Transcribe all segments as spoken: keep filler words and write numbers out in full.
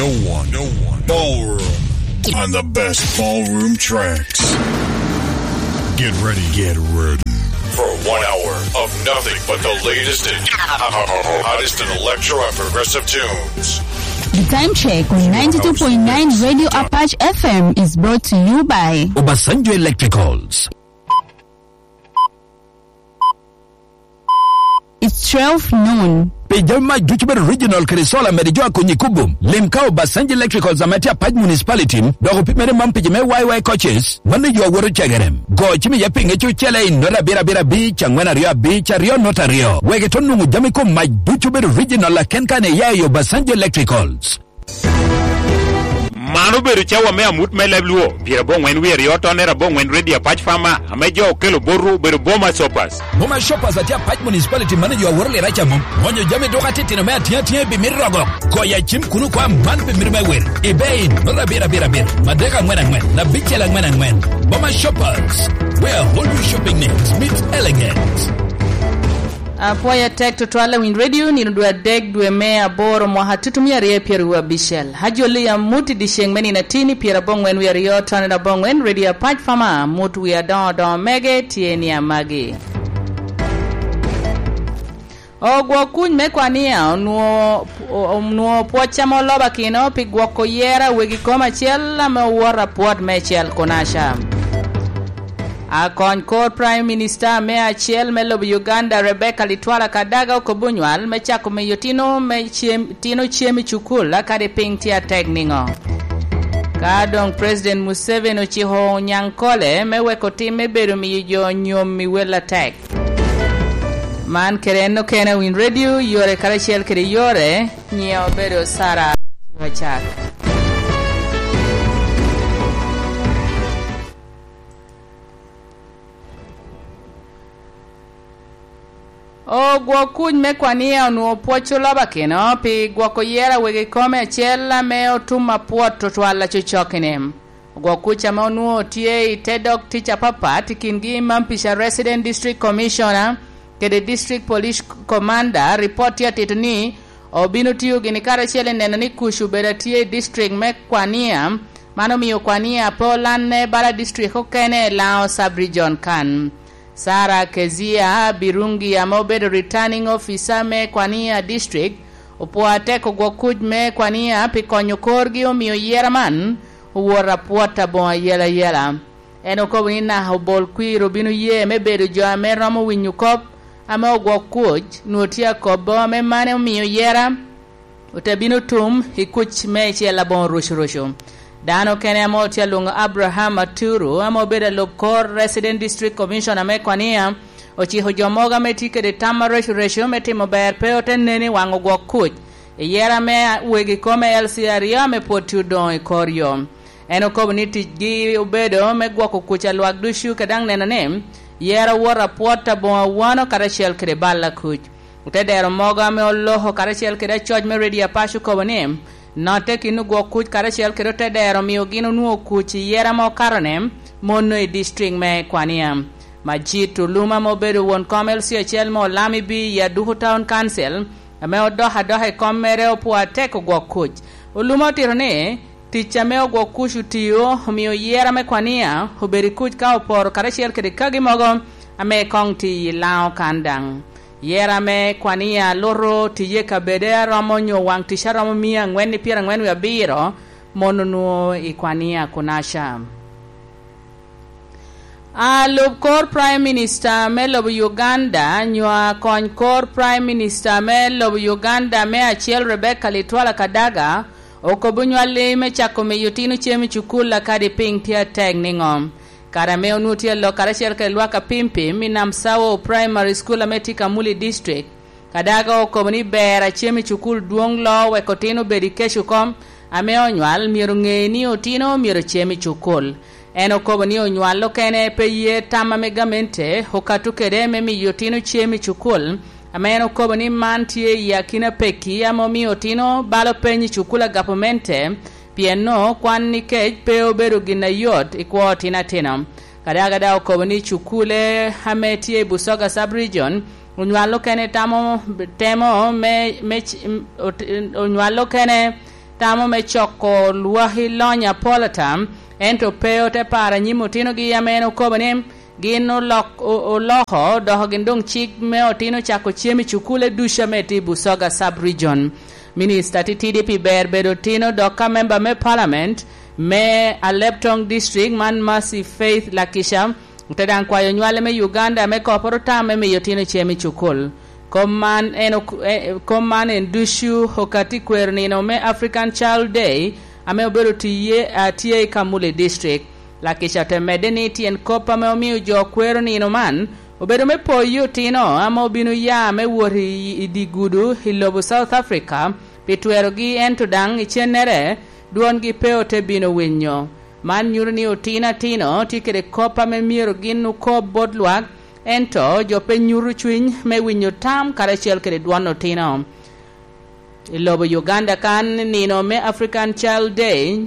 No one, no one, ballroom, and the best ballroom tracks. Get ready, get ready for one hour of nothing but the latest and hottest in electro and progressive tunes. The time check on ninety-two point nine Radio Apache F M is brought to you by Obasanjo Electricals. It's twelve noon. Pi jami mac ducu bedo original kede solar, mede jo a konyi kubo. Lim ka Obasanjo Electricals ame tye Apac Municipality, dok opimere man pi jo me Y Y coaches, mano yo awoto cegere. Go cim iye pi ŋec ocele i nota abiro abiro abic, angwen aryo abic, aryo nota aryo. Wek ito nwoŋo jami kom mac ducu bedo original aken kan iya i Obasanjo Electricals. Man obedo cawa me amut me leb Luo, pyerabongwen wie aryo tonne rabongwen Radio Apac Farmer, ame jo okelo botwu obedo Boma Shoppers. Boma Shoppers atye Apac Municipality, mano jo aworo lira ca mom. Onyo jami duka titino me atiŋ atiŋ i bimit rogo. Goyo acim kun okwa man pi mito me wer. Ibe in, nota abiro abiro abiro, madek angwen angwen, abicel angwen angwen. Boma Shoppers, where all your shopping needs meet elegance. Apwoyo atek tutwal awiny redio nino dwe adek dwe me aboro mwaka tutumia aryo pyeraryo abicel. Ajolli amut i dyeceŋ me nino atin i pyerabongwen wie aryo tonne abongwen, redio Apac Farmer, amut wie adoŋo adoŋo mege tye ni amagi. Ogwok kuc me kwania onwo-, onwo pwoc ame olobakino pi gwoko yera wegi kom acel ame owoto apwot me cel Kunaca. Akony kor Prime Minister me acel me lobo Uganda, Rebecca Litwala Kadaga, okobo nywal me cako miyo tino me cem, tino cem i cukul, akadi piny tye atek niŋo? Ka doŋ President Museveni ociko Onyankole me weko tim me bedo miyo jo nyom i wel atek. Man kede en okene Win Radio, yore karacel kede yore, nyiŋe obedo Sara Wacak. Ogwok kuc me kwania onwoŋo pwoc olobakino pi gwoko yera wegi kome acel ame otum apwot tutwal acocok-kini. Ogwok kuc ame onwoŋo tye i te dog tic apapat i kingi Mampica Resident District Commissioner kede District Police Commander, ripot tye atito ni obino tiyo gini karacel i neno ni kuc obedo atye i district me kwania. Man omio kwania pe olanne bala district okene i Lango Sub-Region kan. Sara Kezia Birungi ame obedo Returning Officer me Kwania District opwo atek ogwok kuc me kwania pi konyo korgi omio yera man owot apwot aboŋo ayela ayela. En okobo ni naka obol kwir obino ye me bedo jo ame romo winyo kop ame ogwok kuc nwoŋo tye akobo ame mano omio yera ote bino tum i kuc meicel aboŋo rucurucu. Dano kene ame otye alwoŋo Abraham Aturu, ame obedo alub kor Resident District Commissioner me Kwania, ociko jo mogo ame tye kede tam arecurecu me timo ber pe ote nen i waŋ ogwok kuc i yera me wegi kome L C aryo ame pwod tye odoŋo i kor yo. En okobo ni ticgi obedo me gwoko kuc a lwak ducu, ka daŋ neno ni yero wot apwot aboŋo awano karacel kede bal a kuc. Otedero mogo ame oloko karacel kede acoc me Radio Apac okobo ni, notte kin ogwok kuc karacel kede otedero omio gin onwoŋo kuc i yera ma okato-ni, mono i district me Kwania. Majit Olum ame obedo won kom L C acel me Olami B i Aduku Town Council, ame odok adoka i kom mere opwo atek ogwok kuc. Olum otito ni, tic ame ogwok kuc otio omio yera me Kwania obedo i kuc ka oporo karacel kede kagi mogo ame koŋ tye i Lango kan daŋ. Yera me Kwania luto tiye kabede aromo nyo waŋ tic aromo mia angwen i pyerangwen wie abiro, mon onwoŋo i Kwania Kunaca. Alub kor Prime Minister me lobo Uganda, nyo akony kor Prime Minister me lobo Uganda me acel Rebecca Litwala Kadaga, okobo nywalli me cako miyo tino cem i cukul akadi piny tye atek niŋo. Kare ame onwoŋo tye alok karacel kede lwak apimpim i Namsawo Primary School ame tye Kamuli District, Kadaga okobo ni ber a cem i cukul dwoŋ loo wek otino obed i kec oko, ame onywal myero oŋe ni otino myero ocem i cukul. En okobo ni onywal okene pe ye tam ame gamente okato kede me miyo otino cem i cukul, ame en okobo ni man tye i akina pekki ame omio otino balo peny i cukul a gavamente, pien nwoŋo kwan i kec pe obedo gin ayot i kwo otino atino. Kadaga daŋ okobo ni cukule ame tye i Busoga Sub-Region onywal okene tamo, temo me, me c-, ot-, onywal okene tamo me coko lwaki lony apol ata, ento pe ote paro anyim otinogi ame en okobo ni gin olok-, o-, oloko doko gin doŋ cik me otino cako cem i cukule ducu ame tye i Busoga Sub-Region. Minista titidi pi ber bedo otino dok ka memba me Parliament me Aleptong District man Mercy Faith Lakisha ote daŋ kwayo nywale me Uganda me koporo tam me miyo otino cem i cukul. Kom man en ok-, eh, kom man en ducu okati kwero nino me African Child Day ame obedo tiye, ah, tye i Kamuli District. Lakisha te medde ni tyen kop ame omio jo kwero nino man obedo me poyo otino ame obino ya me wot i, i dye gudo i lobo South Africa pi twerogi, ento daŋ icennere dwongi pe ote bino winyo. Man nyuto ni otino atino tye kede kop ame myero gin okob bot lwak, ento jo pe nyuto cwiny me winyo tam karacel kede dwon otino. I lobo Uganda kan, nino me African Child Day,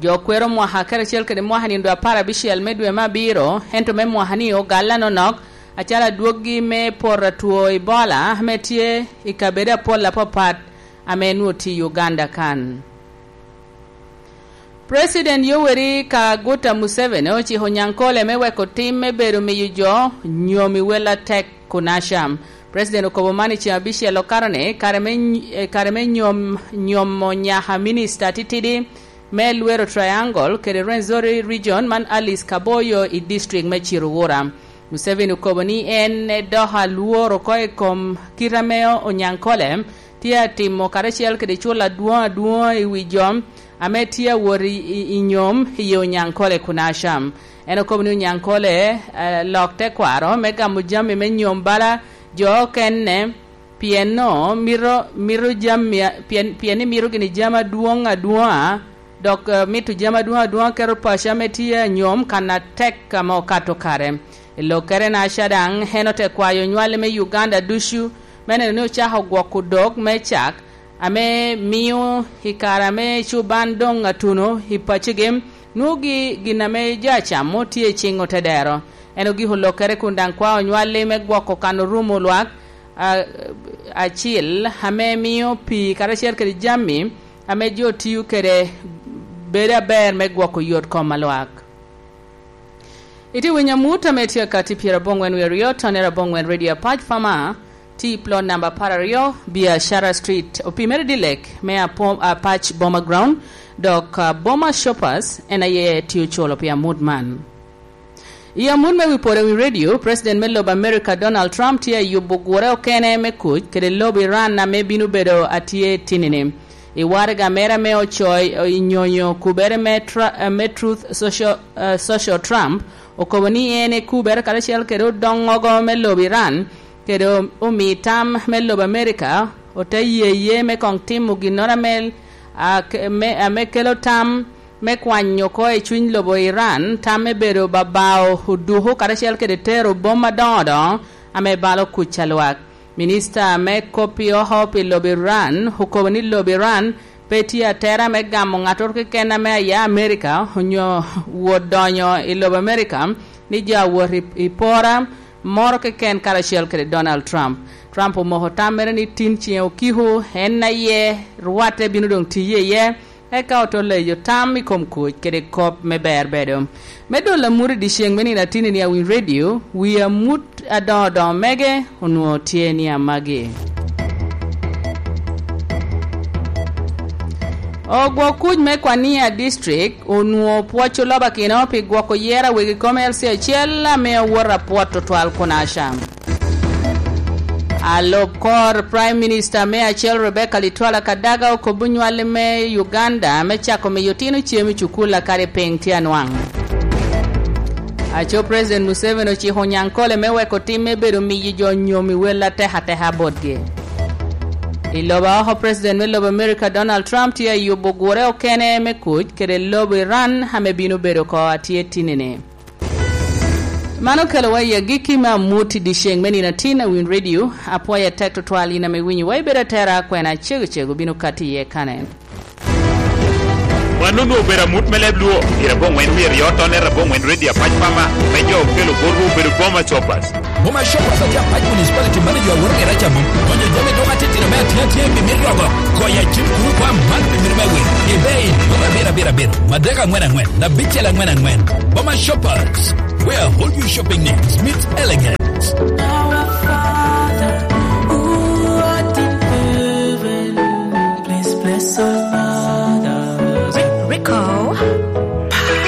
jo kwero mwaka karacel kede mwaka nino dwe apar abicel me dwe me abiro, ento me mwaka ni ogalle anonok, acalo adwoggi me poto atwo Ebola ame tye i kabedo apol apapat ame nwoŋo tye i Uganda kan. President Yoweri Kaguta Museveni ociko Nyankole me weko tim me bedo miyo jo nyom i wel atek kun acam. President okobo man i ceng abicel okato ni kare me ny-, eh, kare me nyom, nyomo nyaka minista titidi me Luweero Triangle kede Rwenzori Region man Alice Kaboyo i district me Kiruhura. Museveni okobo ni en edoko alwor oko i kom kite ame Onyankole tye atimo karacel kede culo adwoŋ adwoŋ i wi jo ame tye awot i, i, i nyom i Onyankole kun acam. En okobo ni Onyankole, eh, lok tekwaro me gamo jami me nyom bala jo okene, pien no mito, mito jami a-, pien, pien ni mito gini jami adwoŋ adwoŋa, dok, eh, mito jami adwoŋ adwoŋa keto paco ame tye anyom kan atek ame okato kare. I lokkere-naca daŋ, en ote kwayo nywale me Uganda ducu me neno ni ocako gwoko dok me cak, ame mio i kare ame cuban doŋ atuno i pacigi, nwogi gin ame jo acamo tye i ciŋ otedero. En ogiko lokkere kun daŋ kwao nywalli me gwoko kan orumo lwak, a-, acil, ame mio pii karacel kede jami ame jo tio kede bedo aber me gwoko yot kom a lwak. Itye winyo amut ame tye akati pyeraboŋwen wie aryo, tonere aboŋwen Radio Apac Farmer, tye i plot namba apar aryo, Biashara Street, opimere dilek me Apo-, Apac Boma Ground, dok, ah, Boma Shoppers en aye tye oculo pi amut man. I amut me wi pwod i wi radio, President me lobo America Donald Trump tye ayubo gure okene me kuc kede lobo Iran ame bino bedo atye tinini. I waraga mere ame ocoyo i nyonyo kubere me Tra-, eh, me Truth Social, eh, Social, Trump okobo ni en ekubere karacel kede odoŋogo me lobo Iran, kede o-, omi tam me lobo America ote ye ye me koŋ timo ginnoro ame, a, ke-, me, ame kelo tam me kwanyo oko i cuny lobo Iran, tam me bedo babao oduku karacel kede tero bom adoŋo doŋo ame balo kuc a lwak. Minista me kop i oko pi lobo Iran okobo ni lobo Iran pe tye atera me gamo ŋattoro keken ame aya Amerika onyo wot donyo i lobo Amerika, ni jo awot i, i pora moro keken karacel kede Donald Trump. Trump omoko tam mere ni tin ciŋe okiko, en aye rwatte bino doŋ tiye iye, eka oto leyo tam i kom kuc kede kop me ber bedo. Me dolo amut i dyeceŋ me nino atinni ni Awiny Radio, wi amut adoŋo doŋo mege onwoŋo tye ni amagi. Ogwok kuc me Kwania District onwoŋo pwoc olobakino pi gwoko yero awegi kom L C acel ame owoto apwot tutwal kun acam. Alub kor Prime Minister me acel Rebecca Litwala Kadaga okobo nywalli me Uganda me cako miyo otino cem i cukul akadi piny tye anwaŋ. Aco President Museveni ociko Onyankole me weko tim me bedo miyo jo nyom i wel atek ateka botgi. I lobo oko, President me lobo America Donald Trump tye ayubo gure okene me kuc kede lobo Iran ame bino bedo ko atye tinini. Man okelowa i agikki me amut i dyeceŋ me nino atin a Win Radio. Apwoyo atek tutwal in ame iwinyowa, ibedo atera, kwena cego cego bino kati iye kanen. Wan onwoŋo obedo amut me leb Luo, i Raboŋwen wie aryo, tonne Raboŋwen Radio Apac Pama, me jo okelo botwu obedo Boma Shoppers. Boma Shoppers atye Apac Municipality Manager Awor Geraca Mom. Konyo jami dok atitino me atye atye pi mit rogo. Koya cim kuru kwa man pi abiro abiro, madek angwen angwen, abicel angwen angwen. Boma Shoppers, where all your shopping needs meets elegance. Our Father who art in heaven, please bless our mothers. Re-, recall.